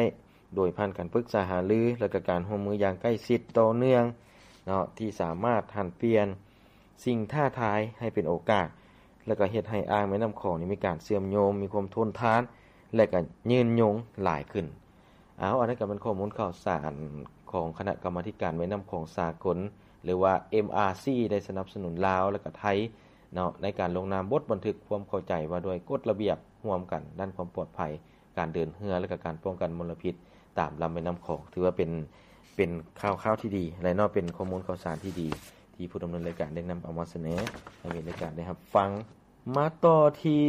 ໂດຍຜ່ານການປຶກສາຫາລື ແລະ ກໍການຮ່ວມມືຢ່າງໃກ້ຊິດຕໍ່ເນື່ອງເນາະ ທີ່ສາມາດຫັນປ່ຽນສິ່ງທ້າທາຍໃຫ້ເປັນໂອກາດ ແລະ ກໍເຮັດໃຫ້ອ່າງແມ່ນ້ຳຂອງນີ້ມີການເຊື່ອມໂຍງ, ມີຄວາມທົນທານ ແລະ ກໍຍືນຍົງຫຼາຍຂຶ້ນ. ເອົາ, ອັນນັ້ນກໍເປັນຂໍ້ມູນຂ່າວສານຂອງຄະນະກຳມາທິການແມ່ນ້ຳຂອງສາກົນ ຫຼືວ່າ ເອັມອາຊີ ໄດ້ສະໜັບສະໜູນລາວ ແລະ ກໍໄທເນາະ ໃນການລົງນາມບົດບັນທຶກຄວາມເຂົ້າໃຈວ່າດ້ວຍກົດລະບຽບຮ່ວມກັນດ້ານຄວາມປອດໄພການເດີນເຮືອ ແລະ ກໍການປ້ອງກັນມົນລະພິດຕາມລຳແມ່ນ້ຳຂອງ. ຖືວ່າເປັນ, ເປັນຂ່າວ, ຂ່າວທີ່ດີ ແລະ ເນາະ ເປັນຂໍ້ມູນຂ່າວສານທີ່ດີ ທີ່ຜູ້ດຳເນີນລາຍການໄດ້ນຳເອົາມາສະເໜີໃຫ້ແຟນລາຍການໄດ້ຮັບຟັງ. ມາຕໍ່ທີ່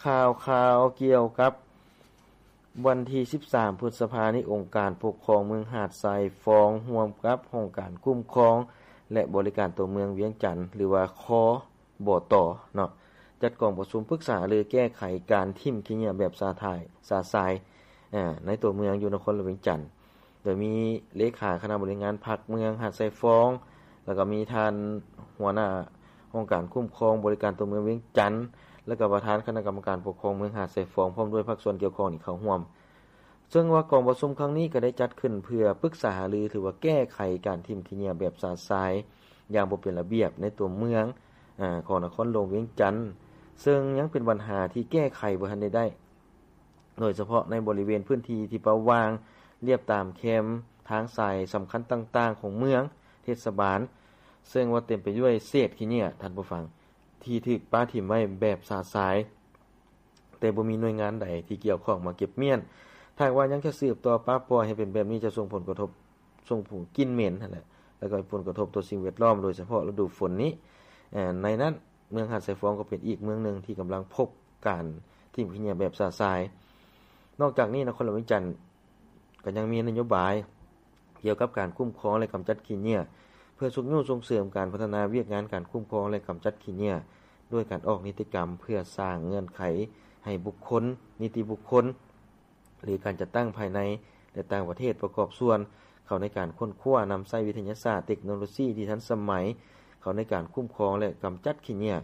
ຂ່າວ, ຂ່າວກ່ຽວກັບວັນທີສິບສາມ ພຶດສະພານີ້ ອົງການປົກຄອງເມືອງຫາດຊາຍຟອງ ຮ່ວມກັບຫ້ອງການຄຸ້ມຄອງ ແລະ ບໍລິການຕົວເມືອງວຽງຈັນ ຫຼືວ່າ ຄບຕ ເນາະ ຈັດກອງປະຊຸມປຶກສາຫາລືແກ້ໄຂການຖິ້ມຂີ້ເຫຍື້ອແບບຊະຊາຍ, ຊະຊາຍ ໃນຕົວເມືອງຢູ່ນະຄອນຫຼວງວຽງຈັນ. ໂດຍມີເລຂາຄະນະບໍລິຫານງານພັກເມືອງຫາດຊາຍຟອງ ແລ້ວກໍມີທ່ານຫົວໜ້າຫ້ອງການຄຸ້ມຄອງບໍລິການຕົວເມືອງວຽງຈັນ ແລ້ວກໍປະທານຄະນະກຳມະການປົກຄອງເມືອງຫາດຊາຍຟອງ ພ້ອມດ້ວຍພາກສ່ວນກ່ຽວຂ້ອງນີ້ເຂົ້າຮ່ວມ. ເຊິ່ງວ່າກອງປະຊຸມຄັ້ງນີ້ກໍໄດ້ຈັດຂຶ້ນເພື່ອປຶກສາຫາລື ຫຼືວ່າແກ້ໄຂການຖິ້ມຂີ້ເຫຍື້ອແບບຊະຊາຍຢ່າງບໍ່ເປັນລະບຽບໃນຕົວເມືອງ ອາ ຂອງນະຄອນຫຼວງວຽງຈັນ, ເຊິ່ງຍັງເປັນບັນຫາທີ່ແກ້ໄຂບໍ່ທັນໄດ້ໄດ້. ໂດຍສະເພາະໃນບໍລິເວນພື້ນທີ່ທີ່ເປົ່າວ່າງລຽບຕາມແຄມທາງສາຍສຳຄັນຕ່າງໆຂອງເມືອງ, ເທດສະບານ, ເຊິ່ງວ່າເຕັມໄປດ້ວຍເສດຂີ້ເຫຍື້ອ, ທ່ານຜູ້ຟັງ, ທີ່ຖືກປະຖິ້ມໄວ້ແບບຊະຊາຍ, ແຕ່ບໍ່ມີໜ່ວຍງານໃດທີ່ກ່ຽວຂ້ອງມາເກັບມ້ຽນ. ຖ້າຫາກວ່າຍັງຈະສືບຕໍ່ປະປ່ອຍໃຫ້ເປັນແບບນີ້ ຈະສົ່ງຜົນກະທົບ, ສົ່ງຜົນກິ່ນເໝັນຫັ້ນແຫຼະ, ແລ້ວກໍມີຜົນກະທົບຕໍ່ສິ່ງແວດລ້ອມ, ໂດຍສະເພາະລະດູຝົນນີ້. ໃນນັ້ນ, ເມືອງຫາດຊາຍຟອງກໍເປັນອີກເມືອງໜຶ່ງທີ່ກຳລັງພົບ ການຖິ້ມຂີ້ເຫຍື້ອແບບຊະຊາຍ. ນອກຈາກນີ້, ນະຄອນຫຼວງວຽງຈັນກໍຍັງມີນະໂຍບາຍກ່ຽວກັບການຄຸ້ມຄອງ ແລະ ກຳຈັດຂີ້ເຫຍື້ອ ເພື່ອຊຸກຍູ້ສົ່ງເສີມການພັດທະນາວຽກງານການຄຸ້ມຄອງ ແລະ ກຳຈັດຂີ້ເຫຍື້ອ ດ້ວຍການອອກນິຕິກຳເພື່ອສ້າງເງື່ອນໄຂໃຫ້ບຸກຄົນ, ນິຕິບຸກຄົນ ຫຼື ການຈັດຕັ້ງພາຍໃນ ແລະ ຕ່າງປະເທດປະກອບສ່ວນເຂົ້າໃນການຄົ້ນຄວ້ານຳໃຊ້ວິທະຍາສາດ, ເຕັກໂນໂລຊີທີ່ທັນສະໄໝ ເຂົ້າໃນການຄຸ້ມຄອງ ແລະ ກຳຈັດຂີ້ເຫຍື້ອ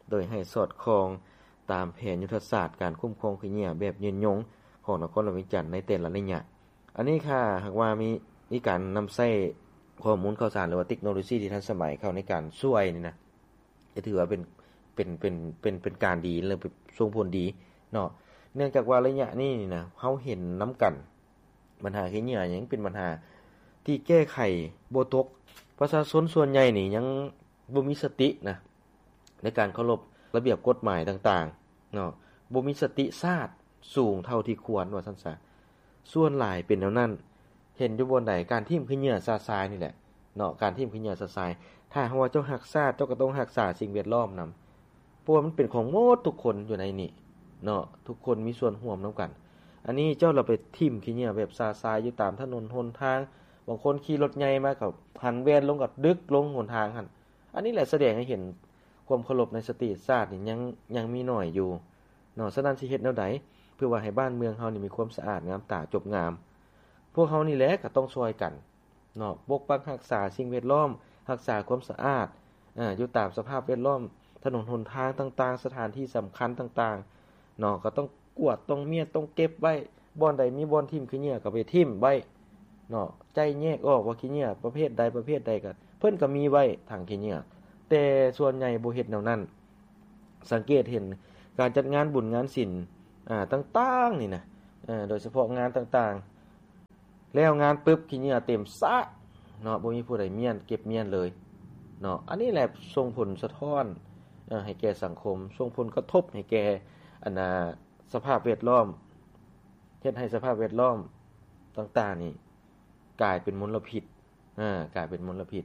ໂດຍໃຫ້ສອດຄ່ອງຕາມແຜນຍຸດທະສາດການຄຸ້ມຄອງຂີ້ເຫຍື້ອແບບຍືນຍົງຂອງນະຄອນຫຼວງວຽງຈັນໃນແຕ່ລະໄລຍະ. ອັນນີ້ຖ້າຫາກວ່າມີ, ມີການນຳໃຊ້ຂໍ້ມູນຂ່າວສານ ຫຼືວ່າເຕັກໂນໂລຊີທີ່ທັນສະໄໝເຂົ້າໃນການຊ່ວຍນີ້ນະ, ຈະຖືວ່າເປັນ, ເປັນ, ເປັນ, ເປັນ, ເປັນການດີ ແລະ ສົ່ງຜົນດີເນາະ. ເນື່ອງຈາກວ່າໄລຍະນີ້ນີ້ນະ, ເຮົາເຫັນນຳກັນ ບັນຫາຂີ້ເຫຍື້ອຍັງເປັນບັນຫາທີ່ແກ້ໄຂບໍ່ຕົກ. ປະຊາຊົນສ່ວນໃຫຍ່ນີ້ຍັງບໍ່ມີສະຕິນະ ໃນການເຄົາລົບລະບຽບກົດໝາຍຕ່າງໆເນາະ, ບໍ່ມີສະຕິຊາດສູງເທົ່າທີ່ຄວນ ວ່າຊັ້ນຊະ. ສ່ວນຫຼາຍເປັນແນວນັ້ນ. ເຫັນຢູ່ບ່ອນໃດ ການຖິ້ມຂີ້ເຫຍື້ອຊະຊາຍນີ້ແຫຼະເນາະ, ການຖິ້ມຂີ້ເຫຍື້ອຊະຊາຍ. ຖ້າຫາກວ່າເຈົ້າຮັກຊາດ, ເຈົ້າກໍຕ້ອງຮັກສາສິ່ງແວດລ້ອມນຳ. ເພາະວ່າມັນເປັນຂອງໝົດທຸກຄົນຢູ່ໃນນີ້ເນາະ, ທຸກຄົນມີສ່ວນຮ່ວມນຳກັນ. ອັນນີ້ເຈົ້າລະໄປຖິ້ມຂີ້ເຫຍື້ອແບບຊະຊາຍຢູ່ຕາມຖະໜົນຫົນທາງ, ບາງຄົນຂີ່ລົດໃຫຍ່ມາກໍຫັນແວ່ນລົງກໍດຶກລົງຫົນທາງຫັ້ນ. ອັນນີ້ແຫຼະສະແດງໃຫ້ເຫັນ ຄວາມເຄົາລົບໃນສະຕິຊາດນີ້ຍັງ ຍັງມີໜ້ອຍຢູ່ເນາະ. ສະນັ້ນຊິເຮັດແນວໃດ ເພື່ອວ່າໃຫ້ບ້ານເມືອງເຮົານີ້ມີຄວາມສະອາດງາມຕາຈົບງາມ? ພວກເຮົານີ້ແຫຼະກໍຕ້ອງຊ່ອຍກັນເນາະ ປົກປັກຮັກສາສິ່ງແວດລ້ອມ, ຮັກສາຄວາມສະອາດ ເອີ ຢູ່ຕາມສະພາບແວດລ້ອມ, ຖະໜົນຫົນທາງຕ່າງໆ, ສະຖານທີ່ສຳຄັນຕ່າງໆເນາະ ກໍຕ້ອງກວດ, ຕ້ອງມ້ຽນ, ຕ້ອງເກັບໄວ້. ບ່ອນໃດມີບ່ອນຖິ້ມຂີ້ເຫຍື້ອກໍໄປຖິ້ມໄວ້ເນາະ, ໄຈ້ແຍກອອກວ່າຂີ້ເຫຍື້ອປະເພດໃດປະເພດໃດ ກໍເພິ່ນກໍມີໄວ້ຖັງຂີ້ເຫຍື້ອ, ແຕ່ສ່ວນໃຫຍ່ບໍ່ເຮັດແນວນັ້ນ. ສັງເກດເຫັນການຈັດງານບຸນງານສິນ ອາ ຕ່າງໆນີ້ນະ ເອີ ໂດຍສະເພາະງານຕ່າງໆ ແລ້ວງານປຶບ ຂີ້ເຫຍື້ອເຕັມສະເນາະ, ບໍ່ມີຜູ້ໃດມ້ຽນ ເກັບມ້ຽນເລີຍເນາະ. ອັນນີ້ແຫຼະສົ່ງຜົນສະທ້ອນ ເອີ ໃຫ້ແກ່ສັງຄົມ, ສົ່ງຜົນກະທົບໃຫ້ແກ່ ອັນນ່າ ສະພາບແວດລ້ອມ, ເຮັດໃຫ້ສະພາບແວດລ້ອມຕ່າງໆນີ້ກາຍເປັນມົນລະພິດ ອາ ກາຍເປັນມົນລະພິດ.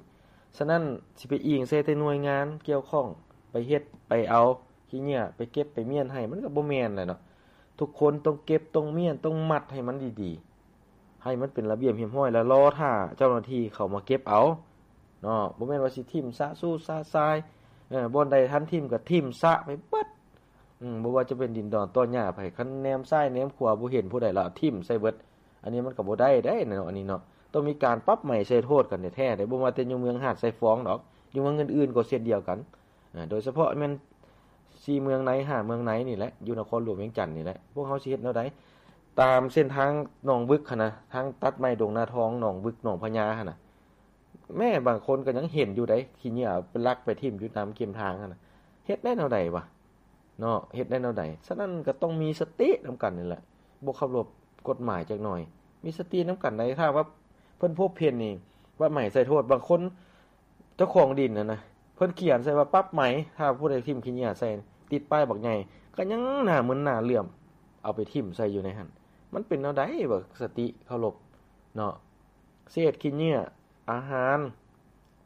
ສະນັ້ນ ຊິໄປອີງໃສ່ແຕ່ໜ່ວຍງານກ່ຽວຂ້ອງ ໄປເຮັດໄປເອົາຂີ້ເຫຍື້ອ ໄປເກັບໄປມ້ຽນໃຫ້ ມັນກໍບໍ່ແມ່ນແຫຼະເນາະ. ທຸກຄົນຕ້ອງເກັບ ຕ້ອງມ້ຽນ ຕ້ອງມັດໃຫ້ມັນດີໆ ໃຫ້ມັນເປັນລະບຽບຮຽບຮ້ອຍ ແລ້ວລໍຖ້າເຈົ້າໜ້າທີ່ເຂົ້າມາເກັບເອົາເນາະ. ບໍ່ແມ່ນວ່າຊິຖິ້ມຊະຊູຊະຊາຍ ເອີ ບ່ອນໃດທັນຖິ້ມກໍຖິ້ມຊະໄປເບິດ. ອືມ ບໍ່ວ່າຈະເປັນດິນດອນຕອຫຍ້າໃຜ ຄັນແນມຊ້າຍແນມຂວາບໍ່ເຫັນຜູ້ໃດລະຖິ້ມໃສ່ເບິດ. ອັນນີ້ມັນກໍບໍ່ໄດ້ເດ້ເນາະ ອັນນີ້ເນາະ. ຕ້ອງມີການປັບໃໝໃສ່ໂທດກັນແທ້ໆເດ້. ບໍ່ວ່າແຕ່ຢູ່ເມືອງຫາດຊາຍຟອງດອກ, ຢູ່ເມືອງອື່ນໆກໍເຊັ່ນດຽວກັນ. ອາ ໂດຍສະເພາະແມ່ນສີ່ເມືອງໃນ ຫ້າເມືອງໃນນີ້ແຫຼະ, ຢູ່ນະຄອນຫຼວງວຽງຈັນນີ້ແຫຼະ. ພວກເຮົາຊິເຮັດແນວໃດ? ຕາມເສັ້ນທາງໜອງບຶກຫັ້ນນະ, ທາງຕັດໃໝດົງນາທອງ ໜອງບຶກ ໜອງພະຍາຫັ້ນນະ. ແມ້ບາງຄົນກໍຍັງເຫັນຢູ່ໃດ໋ ຂີ້ເຫຍື້ອໄປລັກໄປຖິ້ມຢູ່ຕາມເຄມທາງຫັ້ນນະ. ເຮັດໄດ້ແນວໃດວະເນາະ? ເຮັດໄດ້ແນວໃດ? ສະນັ້ນກໍຕ້ອງມີສະຕິນຳກັນນີ້ແຫຼະ, ບໍ່ເຄົາລົບກົດໝາຍຈັກໜ່ອຍ. ມີສະຕິນຳກັນໄດ໋. ຖ້າວ່າເພິ່ນພົບເຫັນນີ້ ປັບໃໝໃສ່ໂທດ. ບາງຄົນເຈົ້າຂອງດິນຫັ້ນນະ ເພິ່ນຂຽນໃສ່ວ່າປັບໃໝ ຖ້າຜູ້ໃດຖິ້ມຂີ້ເຫຍື້ອໃສ່, ຕິດປ້າຍບັກໃຫຍ່ ກໍຍັງໜ້າມຶນໜ້າເຫຼື້ອມ ເອົາໄປຖິ້ມໃສ່ຢູ່ໃນຫັ້ນ. ມັນເປັນແນວໃດວະ ສະຕິເຄົາລົບເນາະ? ເສດຂີ້ເຫຍື້ອ ອາຫານ,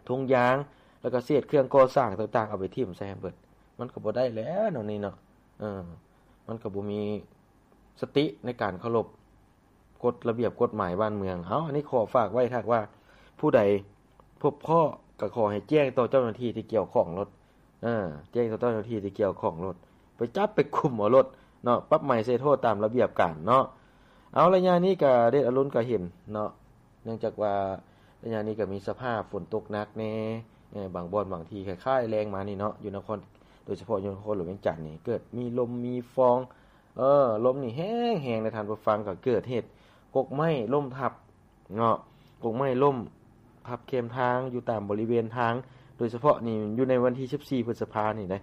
ຖົງຢາງ ແລ້ວກໍເສດເຄື່ອງກໍ່ສ້າງຕ່າງໆ ເອົາໄປຖິ້ມໃສ່ໃຫ້ເບິດ. ມັນກໍບໍ່ໄດ້ແລ້ວແນວນີ້ເນາະ. ເອີ ມັນກໍບໍ່ມີສະຕິໃນການເຄົາລົບກົດລະບຽບກົດໝາຍບ້ານເມືອງ. ເອົາ ອັນນີ້ຂໍຝາກໄວ້ ຖ້າຫາກວ່າຜູ້ໃດພົບພໍ້ ກໍຂໍໃຫ້ແຈ້ງຕໍ່ເຈົ້າໜ້າທີ່ທີ່ກ່ຽວຂ້ອງໂລດ. ເອີ ແຈ້ງຕໍ່ເຈົ້າໜ້າທີ່ທີ່ກ່ຽວຂ້ອງໂລດ, ໄປຈັບໄປກຸມເອົາໂລດເນາະ, ປັບໃໝໃສ່ໂທດຕາມລະບຽບການເນາະ. ເອົາ ໄລຍະນີ້ກະເດດອາລຸນກະເຫັນເນາະ, ເນື່ອງຈາກວ່າໄລຍະນີ້ກະມີສະພາບຝົນຕົກໜັກແດ່, ເອີ ບາງບ່ອນບາງທີ່ຄ້າຍໆແລງມານີ້ເນາະ, ຢູ່ນະຄອນ ໂດຍສະເພາະຢູ່ນະຄອນຫຼວງວຽງຈັນນີ້ ເກີດມີລົມມີຟອງ, ເອີ ລົມນີ້ແຮງໆ ໃນທ່ານຜູ້ຟັງ, ກະເກີດເຫດກົກໄມ້ລົ້ມທັບ ເນາະ, ກົກໄມ້ລົ້ມທັບເຄມທາງຢູ່ຕາມບໍລິເວນທາງ, ໂດຍສະເພາະນີ້ຢູ່ໃນວັນທີສິບສີ່ພຶດສະພານີ້ເດ້,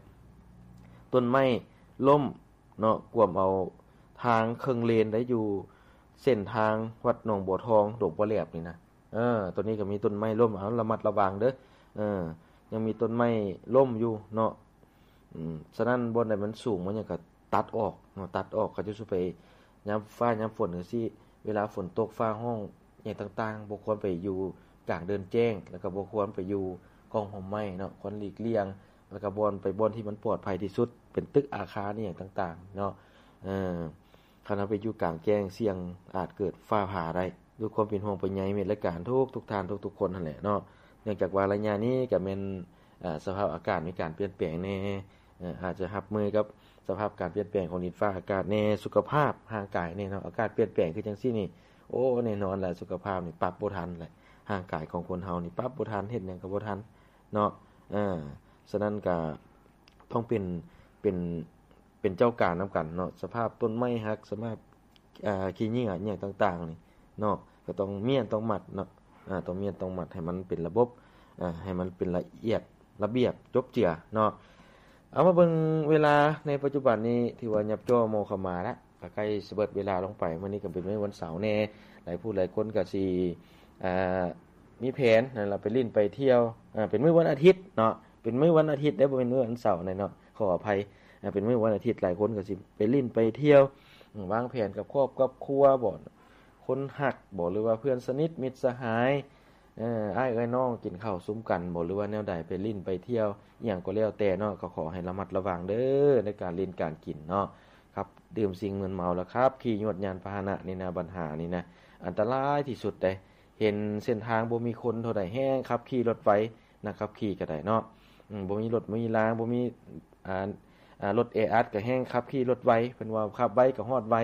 ຕົ້ນໄມ້ລົ້ມເນາະ, ກວມເອົາທາງເຄິ່ງເລນໄດ້ ຢູ່ເສັ້ນທາງວັດໜອງບົວທອງ ດົງປະແຫຼບນີ້ນະ. ເອີ ໂຕນີ້ກໍມີຕົ້ນໄມ້ລົ້ມ, ເອົາ ລະມັດລະວັງເດີ້. ເອີ ຍັງມີຕົ້ນໄມ້ລົ້ມຢູ່ເນາະ. ອືມ ສະນັ້ນ ບ່ອນໃດມັນສູງ ມັນຫຍັງກໍຕັດອອກເນາະ, ຕັດອອກ. ເຂົາເຈົ້າຊິໄປຍາມຟ້າຍາມຝົນຈັ່ງຊີ້, ເວລາຝົນຕົກ ຟ້າຮ້ອງຫຍັງຕ່າງໆ ບໍ່ຄວນໄປຢູ່ກາງເດີ່ນແຈ້ງ, ແລ້ວກໍບໍ່ຄວນໄປຢູ່ກ້ອງຮົ່ມໄມ້ເນາະ, ຄວນຫຼີກລ່ຽງ. ແລ້ວກໍບ່ອນ ໄປບ່ອນທີ່ມັນປອດໄພທີ່ສຸດ ເປັນຕຶກອາຄານອີ່ຫຍັງຕ່າງໆເນາະ. ເອີ ຄັນເຮົາໄປຢູ່ກາງແຈ້ງ ສ່ຽງອາດເກີດຟ້າຜ່າໄດ້. ດ້ວຍຄວາມເປັນຫ່ວງເປັນໃຍມິດລະການທຸກໆທ່ານ ທຸກໆຄົນຫັ້ນແຫຼະເນາະ, ເນື່ອງຈາກວ່າໄລຍະນີ້ກໍແມ່ນ ເອີ ສະພາບອາກາດມີການປ່ຽນແປງແດ່, ເອີ ອາດຈະຮັບມືກັບສະພາບການປ່ຽນແປງຂອງດິນຟ້າອາກາດແດ່, ສຸຂະພາບຮ່າງກາຍແດ່ເນາະ. ອາກາດປ່ຽນແປງຄືຈັ່ງຊີ້ນີ້ ໂອ້ ແນ່ນອນແຫຼະ ສຸຂະພາບນີ້ປັບບໍ່ທັນແຫຼະ, ຮ່າງກາຍຂອງຄົນເຮົານີ້ປັບບໍ່ທັນ, ເຮັດຫຍັງກໍບໍ່ທັນເນາະ. ເອີ ສະນັ້ນກໍຕ້ອງເປັນ ເປັນ ເປັນເຈົ້າການນຳກັນເນາະ, ສະພາບຕົ້ນໄມ້ຫັກ, ສະພາບ ອາ ຂີ້ເຫຍື້ອຫຍັງຕ່າງໆນີ້ເນາະ, ກໍຕ້ອງມ້ຽນຕ້ອງມັດເນາະ, ອາ ຕ້ອງມ້ຽນຕ້ອງມັດໃຫ້ມັນເປັນລະບົບ, ອາ ໃຫ້ມັນເປັນລະອຽດລະບຽບຈົບເຈືອເນາະ. ເອົາ ມາເບິ່ງເວລາໃນປັດຈຸບັນນີ້ ຖືວ່າຫຍັບຈໍ່ມໍ່ເຂົ້າມາແລ້ວ, ກໍໃກ້ຊິເບິດເວລາລົງໄປ. ມື້ນີ້ກໍເປັນມື້ວັນເສົາແດ່, ຫຼາຍຜູ້ຫຼາຍຄົນກໍຊິ ອາ ມີແຜນນັ້ນລະ ໄປຫຼິ້ນໄປທ່ຽວ, ອາ ເປັນມື້ວັນອາທິດເນາະ, ເປັນມື້ວັນອາທິດເດ້ ບໍ່ແມ່ນມື້ວັນເສົາເນາະ, ຂໍອະໄພ. ອາ ເປັນມື້ວັນອາທິດ ຫຼາຍຄົນກໍຊິໄປຫຼິ້ນໄປທ່ຽວ, ວາງແຜນກັບຄອບກັບຄົວບໍ ຄົນຮັກບໍ ຫຼືວ່າເພື່ອນສະໜິດມິດສະຫາຍ, ເອີ ອ້າຍເອື້ອຍນ້ອງກິນເຂົ້າຊຸມກັນບໍ ຫຼືວ່າແນວໃດ, ໄປຫຼິ້ນໄປທ່ຽວ ອີ່ຫຍັງກໍແລ້ວແຕ່ເນາະ, ກໍຂໍໃຫ້ລະມັດລະວັງເດີ້ ໃນການຫຼິ້ນການກິນເນາະ. ຄັບ ດື່ມສິ່ງມຶນເມົາ ແລ້ວຂັບຂີ່ຍວດຍານພາຫະນະນີ້ນະ, ບັນຫານີ້ນະ ອັນຕະລາຍທີ່ສຸດເດ້. ເຫັນເສັ້ນທາງບໍ່ມີຄົນເທົ່າໃດ ແຮ່ງຂັບຂີ່ລົດໄວ, ນັກຂັບຂີ່ກໍໄດ້ເນາະ. ອືມ ບໍ່ມີລົດມີລາງ ບໍ່ມີ ອ່າ ອ່າ ລົດແອອັດກໍແຮ່ງຂັບຂີ່ລົດໄວ ເພິ່ນວ່າຂັບໄວກໍຮອດໄວ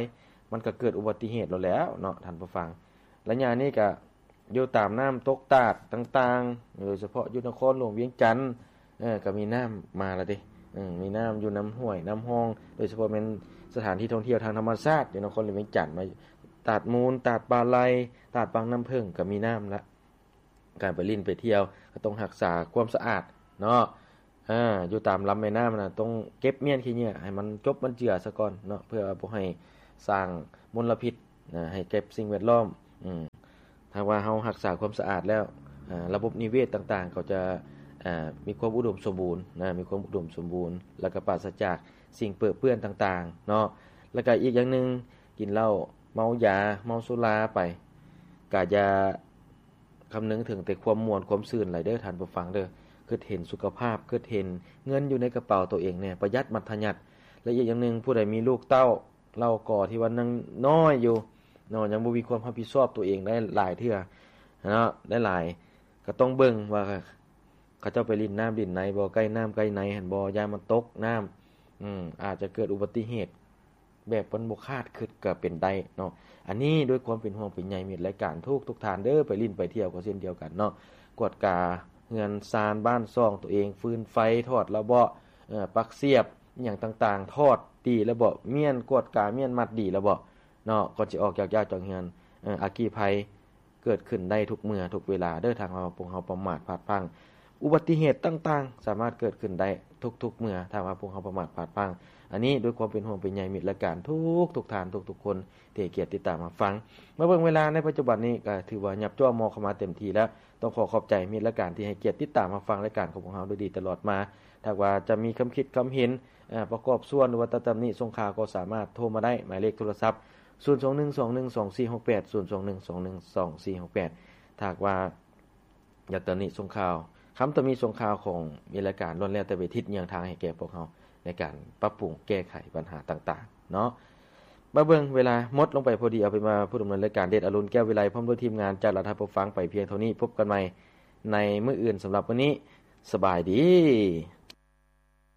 ມັນກໍເກີດອຸບັດຕິເຫດແລ້ວແຫຼະເນາະທ່ານຜູ້ຟັງ. ໄລຍະນີ້ກໍຢູ່ຕາມນ້ຳຕົກຕາດຕ່າງໆ ໂດຍສະເພາະຢູ່ນະຄອນຫຼວງວຽງຈັນ ເອີ ກໍມີນ້ຳມາແລ້ວເດ້ ເອີ ມີນ້ຳຢູ່ນ້ຳຫ້ວຍນ້ຳຮ່ອງ ໂດຍສະເພາະແມ່ນສະຖານທີ່ທ່ອງທ່ຽວທາງທຳມະຊາດຢູ່ນະຄອນຫຼວງວຽງຈັນ ມາຕາດມູນ ຕາດປາໄລ ຕາດວັງນ້ຳເຜິ້ງ ກໍມີນ້ຳລະ. ການໄປຫຼິ້ນໄປທ່ຽວກໍຕ້ອງຮັກສາຄວາມສະອາດເນາະ ເອີ ຢູ່ຕາມລຳແມ່ນ້ຳນະ ຕ້ອງເກັບມ້ຽນຂີ້ເຫຍື້ອໃຫ້ມັນຈົບມັນເຈືອສາກ່ອນເນາະ ເພື່ອບໍ່ໃຫ້ສ້າງມົນລະພິດນະ ໃຫ້ແກ່ສິ່ງແວດລ້ອມ. ອືມ ຖ້າວ່າເຮົາຮັກສາຄວາມສະອາດແລ້ວ ອາ ລະບົບນິເວດຕ່າງໆ ກໍຈະ ອາ ມີຄວາມອຸດົມສົມບູນນະ ມີຄວາມອຸດົມສົມບູນ ແລ້ວກໍປາສະຈາກສິ່ງເປິເປື້ອນຕ່າງໆເນາະ. ແລ້ວກໍອີກຢ່າງໜຶ່ງ ກິນເຫຼົ້າເມົາຢາ ເມົາສຸລາໄປ ກະຢ່າ ຄຳນຶງເຖິງແຕ່ຄວາມມ່ວນຄວາມຊື່ນຫຼາຍເດີທ່ານຜູ້ຟັງເດີ ຄິດເຫັນສຸຂະພາບ ຄິດເຫັນເງິນຢູ່ໃນກະເປົາໂຕເອງແດ່ ປະຢັດມັດທະຍັດ. ແລະ ອີກຢ່າງໜຶ່ງ ຜູ້ໃດມີລູກເຕົ້າເຫຼົ່າກໍທີ່ວ່າຍັງນ້ອຍຢູ່ເນາະ ຍັງບໍ່ມີຄວາມຮັບຜິດຊອບໂຕເອງໄດ້ຫຼາຍເທື່ອເນາະ ໄດ້ຫຼາຍ ກໍຕ້ອງເບິ່ງວ່າເຂົາເຈົ້າໄປຫຼິ້ນນ້ຳຫຼິ້ນໃນບໍ່ ໃກ້ນ້ຳໃກ້ໃນຫັ້ນບໍ່ ຢ້ານມັນຕົກນ້ຳ ອາດຈະເກີດອຸບັດຕິເຫດ ແບບມັນບໍ່ຄາດຄິດກໍເປັນໄດ້ເນາະ. ອັນນີ້ດ້ວຍຄວາມເປັນຫ່ວງເປັນໃຍມິດລາຍການທຸກໆທ່ານເດີ ໄປຫຼິ້ນໄປທ່ຽວກໍເຊັ່ນດຽວກັນເນາະ ກວດກາເຮືອນຊານບ້ານຊ່ອງໂຕເອງ ຟືນໄຟ ຖອດລະເບາະ ເອີ ປັກສຽບ ອີ່ຫຍັງຕ່າງໆ ຖອດດີລະເບາະ ມ້ຽນ ກວດກາມ້ຽນມັດດີລະເບາະເນາະ ກ່ອນຊິອອກຈາກຢາກຈາກເຮືອນ. ເອີ ອັກຄີໄພ ເກີດຂຶ້ນໄດ້ທຸກເມື່ອທຸກເວລາເດີ ຖ້າຫາກວ່າພວກເຮົາປະໝາດພາດພລັ້ງ. ອຸບັດຕິເຫດຕ່າງໆ ສາມາດເກີດຂຶ້ນໄດ້ທຸກໆເມື່ອ ຖ້າຫາກວ່າພວກເຮົາປະໝາດພາດພລັ້ງ. ອັນນີ້ດ້ວຍຄວາມເປັນຫ່ວງເປັນໃຍມິດລາຍການທຸກໆທ່ານທຸກໆຄົນທີ່ໃຫ້ກຽດຕິດຕາມຮັບຟັງ. ມາເບິ່ງເວລາໃນປັດຈຸບັນນີ້ກໍຖືວ່າຫຍັບຈ້ວງໝໍ້ເຂົ້າມາເຕັມທີ່ແລ້ວ. ຕ້ອງຂໍຂອບໃຈມິດລາຍການທີ່ໃຫ້ກຽດຕິດຕາມຮັບຟັງລາຍການຂອງພວກເຮົາໂດຍດີຕະຫຼອດມາ. ຖ້າຫາກວ່າຈະມີຄຳຄິດຄຳເຫັນ ອາ ປະກອບສ່ວນ ຫຼືວ່າຕຳໜິຊົງຄາວ ກໍສາມາດໂທມາໄດ້ ໝາຍເລກໂທລະສັບ ສູນສອງໜຶ່ງສອງໜຶ່ງສອງສີ່ຫົກແປດ ສູນສອງໜຶ່ງສອງໜຶ່ງສອງສີ່ຫົກແປດ. ຖ້າຫາກວ່າຢາກຕຳໜິຊົງຄາວ ຄຳຕຳໜິຊົງຄາວຂອງມີລາຍການ ລ້ວນແລ້ວແຕ່ໄປທິດຍ່າງທາງໃຫ້ແກ່ພວກເຮົາ ໃນການປັບປຸງແກ້ໄຂບັນຫາຕ່າງໆເນາະ. ມາເບິ່ງເວລາໝົດລົງໄປພໍດີ ເອົາເປັນວ່າຜູ້ດຳເນີນລາຍການ ເດດອະລຸນ ແກ້ວວິໄລ ພ້ອມດ້ວຍທີມງານຈາກລັດຖະປະກັງ ໄປພຽງເທົ່ານີ້. ພົບກັນໃໝ່ໃນມື້ອື່ນ. ສຳລັບມື້ນີ້ ສະບາຍດີ.